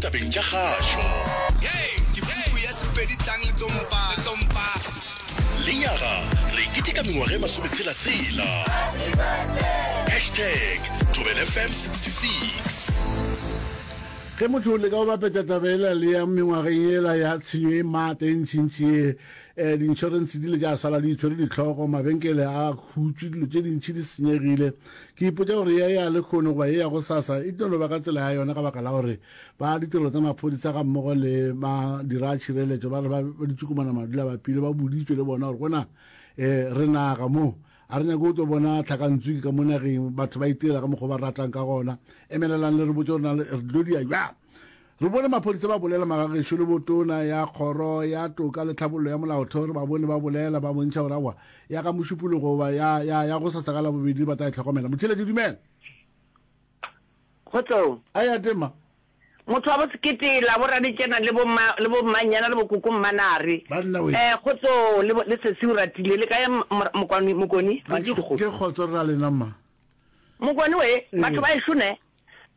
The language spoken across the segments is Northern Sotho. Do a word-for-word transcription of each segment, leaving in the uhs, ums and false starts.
Tabeng tša kgašo. Ke puku ya Sepedi tlang le tlo mpa, le tlo mpa. Lenyaga re keteka mengwaga e masometshela-tshela. Hashtag Thobela F M sixty-six. Ge motho o leka go bapetša taba ela le ya mengwageng yela ya tshenyo e maatla e ntšintši ye, um di-insurance di ile tša sala di itshwere dihlogo, mabenkele a hutšwe, dilo tše dintši di senyegile. Ke ipotša gore ye ya lehono goba ye ya gosasa e tlo no ba ka tsela ya yona ka baka la gore ba ditirelo tsa maphodisa ga mmogo le madira a tšhireletšo ba re ba ditšukumana madula bapile ba boditšwe le bona gore gona um re naga mo a re nyake go tlo bona tlhakantsuki ka mo nageng, batho ba itirela ka mokgwa ba ratang ka gona. Emelelang le re botse gore na re tlo dia bjang. Re bone maphodisa ba bolela magagešo le botona ya kgoro ya toka le tlhabollo ya molaotheo, re ba bone ba bolela ba bontšha gore aowa ya ka Mošupologo goba ya ya ya go sasa ka Labobedi ba tla e hlokomela. Motheeletši, dumela. Kgotsong. A ya tema. Motho wa bo sekete la bo raditšena le bo mma le bo mmanyana le bo koko mmanare. Banna we. Eh kgotso le le sesi o ratile le kae mokwani mokoni Ke ke kgotso re ra lena mma. Mokoni we batho ba ešo ne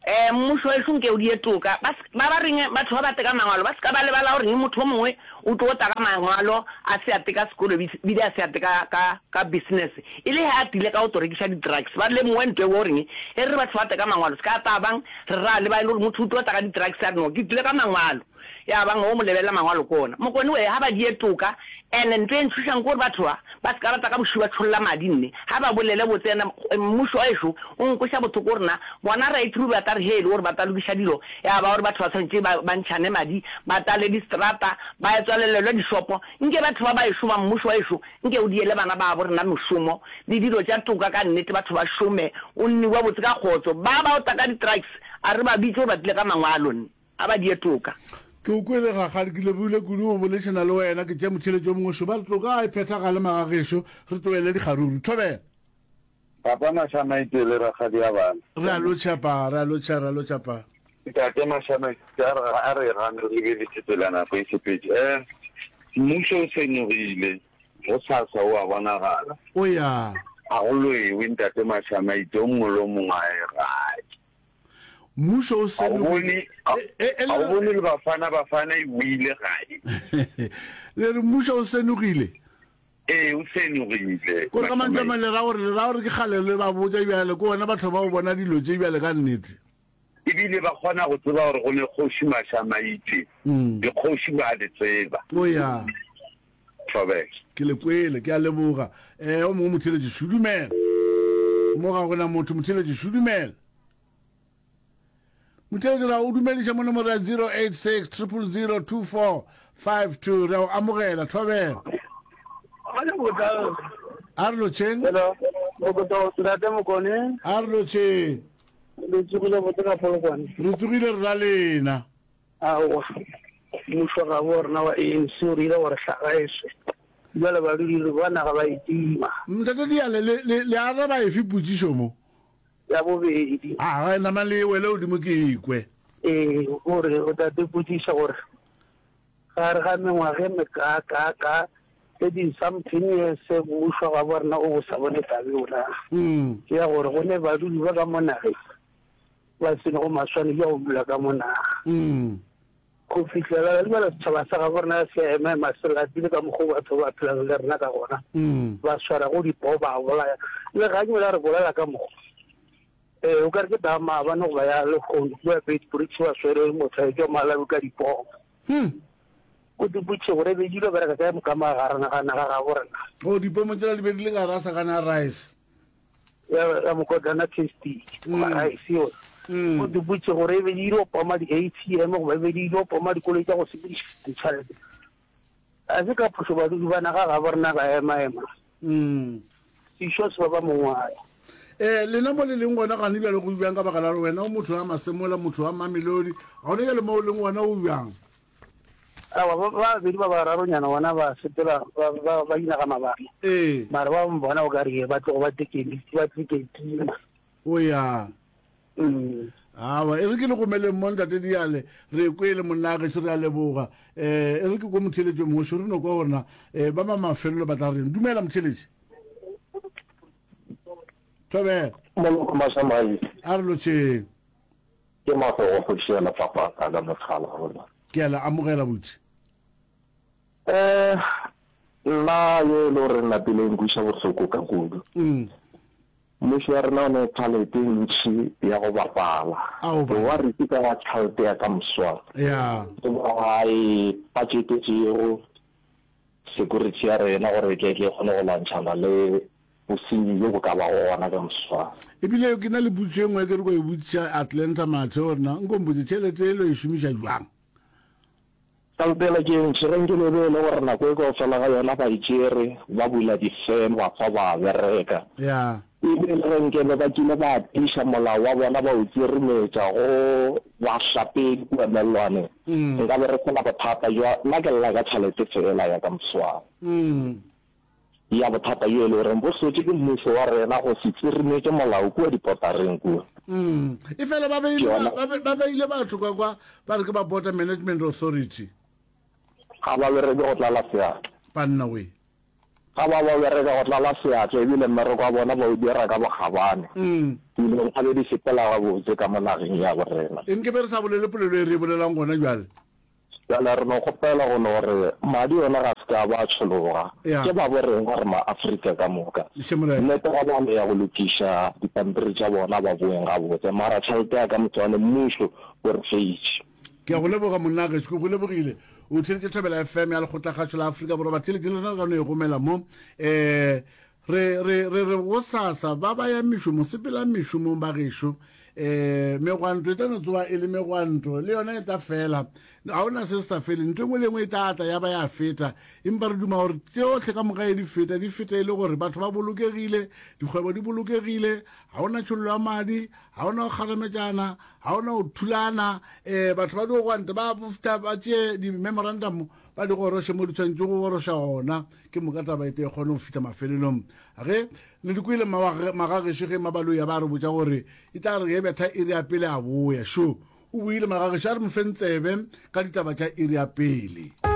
eh mmušo wa ešo nke o die toka ba ba ba reng batho ba ba teka mangwalo ba se ka ba lebala gore motho o mongwe o tlo ta ka mangwalo a se a teka sekolo bile a se a teka ka ka business e le he a tile ka go tlo rekiša di drugs ba lemoge ntwe o reng e re batho ba teka mangwalo se ka ta bang re ra le ba e le gore motho o tlo tla ka di drugs a re no ke tlile ka mangwalo ya bang o mo lebelela mangwalo ke ona mokone we ha ba die toka ene ntwe e ntšhošang ke gore batho ba ba se ka rata ka bošwi ba tšholla madi nne ha ba bolele botse ene mmušo wa ešo o nkoša bothoko gore na bona right through ba tla re he e le gore ba tla lokiša dilo ya ba gore batho ba tshwanetse ba ba ntšhane madi ba tlale distrata ba tswalelelwe dishopo nke batho ba ba ešo ba mmušo wa ešo nke o diele bana babo rena mešomo le dilo tša toka ka nnete batho ba šome o nniwa botse ka kgotso ba ba o tla ka di-drugs a re ba bitše gore ba tlile ka mangwalo nne a ba die toka. Ke o kwele rakgadi, ke lebogile kudu go boledišana le wena. Ke tšea motheeletši o mongwe šo. Ba re toka a e phethagale magagešo, re tlohele dikgaruru. Thobela. Papa Mashamaite le rakgadi ya bana. Re a lotšha pa, re a lotšha, re a lotšha pa. Ntate Mashamaite a re a re gane re lebeletše tsela nako e sepetše. Eh, mmušo o senogile, go sasa o a bonagala. O ya. A go lwewe ntate Mashamaite, o mongwe le o mongwe a ye gae. Mmušo o senogile. A o bone le Bafana Bafana e boile gae. Le re mmušo o senogile? Ee, o senogile. Ko ka mantšu a mang le ra gore le ra gore ke kgale le ba botša bjale, ke bona batho ba o bona dilo tše bjale ka nnete. Ebile ba kgona go tseba gore go ne kgoši Mashamaite. Dikgoši ba di tseba. O ya. Thobela. Ke le kwele, ke a leboga. Eh, o mongwe motheeletši, šudumela. Mo ga gona motho, motheeletši, šudumela. Motheeletši ra o dumediša mo nomoro ya zero eight six triple zero two four five two. Re a o amogela, Thobela. A re lotšheng. Hello, Ntate Mokone. A re lotšheng. Le tsogile botse ka Polokwane. Re tsogile re ra lena. Aowa, mmušo ga bo rena wa A N C o re ile gore hlaga e swe. Jwale badudi ba naga ba itima. Ntate Diale, le, le, le araba efe potšišo mo? Ya bobedi. A ga nama le wele godimo ke ikwe. Ee, gore o tate potšiša gore gare ga mengwaga e mekaakaaka thirty something years mmušo ga bo rena o bo sa bone tabe ona. Ke ya gore go ne badudi ba ka mo nageng ba senego maswanedi a go dula ka mo naga. Go fihlela jwale setšhaba sa gabo rena se a ema ema se lapile ka mokgwa o batho ba phelang le rena ka gona. Ba swara go dipoo ba bolaya. Le ganywe la re bolela ka mokgwa. Eh, o ka re ke taba maabane goba ya lehono kua Beitbridge ba swere motho a etšwa Malawi ka dipoo. O di botše gore be di lo bereka kae moka magareng ga naga gabo rena. O dipomo tsela di be di le ka rasa kana rice. Ya ya mokotlana tasty goba rice yona. O di botše gore e be di lo poma di A T M goba e be di lo poma dikoloi tša go sepediša ditšhelete. A se ka phošo badudi ba naga gabo rena ba ema ema. Sešo se ba ba mongwae. Eh, lena mo le leng gona gane bjale go bjang ka baka la gore wena o motho wa Masemola, motho wa Mamelodi, gone bjale mo o leng gona o bjang? Aowa, ba babedi ba bararonyana bona ba sepela ba ba ba inaga mabaka. Ee. Mara ba bangwe bona o ka re ba tlogo ba tekeni ba tleketima. O ya. Mm. Aowa, e re ke le gomeleng mo ntate Diale, re kwele monna gešo, re a leboga. Eh, e re ke ko motheeletši o mongwe šo, re no kwa gore na eh, ba ba mafelelo ba tla reng. Dumela motheeletši. Thobela. Moloko Masamai. A re lotšheng. Ke mafe go kgoši ya Lefapha ka mothala gona. Ke a le amogela butši. Eh nna ye e le gore napile nkwiša bohloko ka kudu. Mm. Mmušo wa rena o ne tšhelete e ntši ya go bapala. Wa re ke ka tšhelete ya ka moswana. Ya. Ba e budgetetšego security ya rena gore e tle e kgone go lwantšhana le bosenyi bjo bo ka bago gona ka moswana. Ebile ke na le potšo e nngwe ke re ko e botšiša Atlanta Mathe gore na nko mpotse tšhelete e lo e šomiša jwang? Tšhelete yela ke e ntši, ge nke be e le gore nako e kaofela ga yona ba e tšere ba bula di-firm ba fa ba bereka. Ya. Ebile le ge nke be ba kile ba tiiša molao wa bona ba o tsirimetša go bahlapedi kua mellwaneng, nka be re se na bothata bja, nna ke lla ka tšhelete feela ya ka moswana. Ya bothata bjo e le goreng bo hlotše ke mmušo wa rena go se tsirimetše molao kua dipotareng kua. Mm. Efela ba beile, ba, ba, ba beile batho kwa kwa ba re ke ba Border Management Authority. Ga ba bereke go tlala seatla. Banna we. Ga ba ba bereka go tlala seatla ebile mmereko wa bona ba o dira ka bokgabane. Mm. Dilo nkabe di sepela gabotse ka mo nageng ya bo rena. Nke be re sa bolele polelo e re e bolelang gona bjale. Bjale re no kgopela go no gore madi ona ga se ka ba a tšhologa. Ya. Ke ba bo rena re ma-Afrika ka moka. Hle Morena. Nnete ga ba no ya go lokiša dipampiri tša bona ba boeng gabotse. Mara tšhelete ya ka motswane mmušo o re feitše. Ke a go leboga monna gešo, ke go lebogile. O theeletše Thobela F M ya Lekgotlakgašo la Afrika Borwa. Batheeletši le rena re ka no e gomela mo. Um re, re, re re gosasa ba ba yang mešomong, sepelang mešomong ba gešo. Um megwanto e tla no tsoga e le megwanto, le yona e tla fela. Ga ona se se sa feleng, ntho e nngwe le engwe e tla tla ya ba ya feta. Empa re duma gore tšohle ka moka e di feta, di feta e le gore batho ba bolokegile, dikgwebo di bolokegile, ga ona tšhololo ya madi, ga ona go kgarametšana, ga ona go thulana. Um batho ba di gwanta ba fihla ba tšee di-memorandum ba di goroše mo di tshwanetše go goroša gona, ke moka taba e tle e kgone go fihla mafelelong. Ge le di kwele magagešo ge Mabaloyi a ba re botša gore e tla re ge betha iri ya pele a boya, šo o boile magagešo a re mo feng tsebe ka ditaba tša iri ya pele.